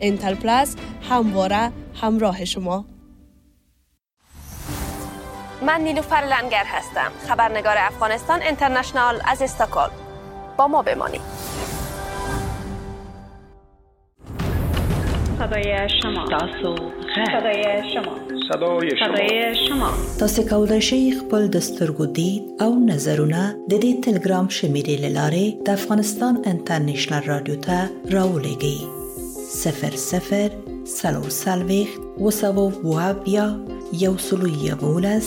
انتل پلاس همواره همراه شما. من نیلوفر لنگر هستم، خبرنگار افغانستان اینترنشنال از استکهلم. با ما بمانید. صدای شما، تاسو صدای شما، صدای شما، صدای شما. تاسو کولای شئ خپل د سترګو دید او نظرونه د دې تلګرام شمیرې لارې د افغانستان انټرنشنل رادیو ته راولېږئ. 00 44 270 111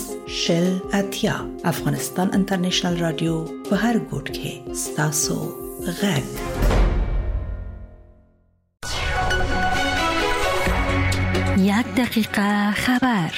80. افغانستان انټرنشنل رادیو په هر ګوټ کې ستاسو غږ. یک دقیقه خبر.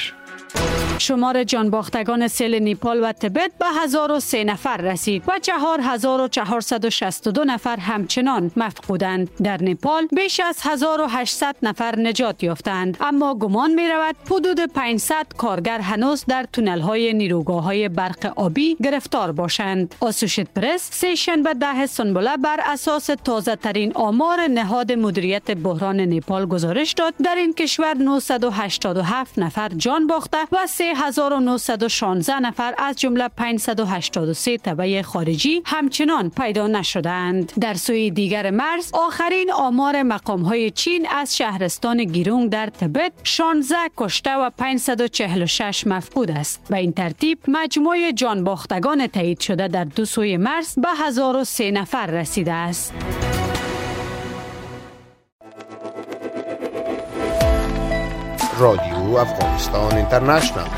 شمار جانباختگان سیل نیپال و تبت به 1003 نفر رسید و 4462 نفر همچنان مفقودند. در نیپال بیش از 1800 نفر نجات یافتند، اما گمان می رود حدود 500 کارگر هنوز در تونل های نیروگاه های برق آبی گرفتار باشند. آسوشیت پرس سه شنبه 10 سنبله بر اساس تازه ترین آمار نهاد مدیریت بحران نیپال گزارش داد در این کشور 987 نفر جان باخته و 3916 نفر از جمله 583 تبع خارجی همچنان پیدا نشدند. در سوی دیگر مرز، آخرین آمار مقام‌های چین از شهرستان گیرونگ در تبت 16 کشته و 546 مفقود است. به این ترتیب مجموع جانباختگان تایید شده در دو سوی مرز به 1003 نفر رسیده است. رادیو افغانستان اینترنشنال.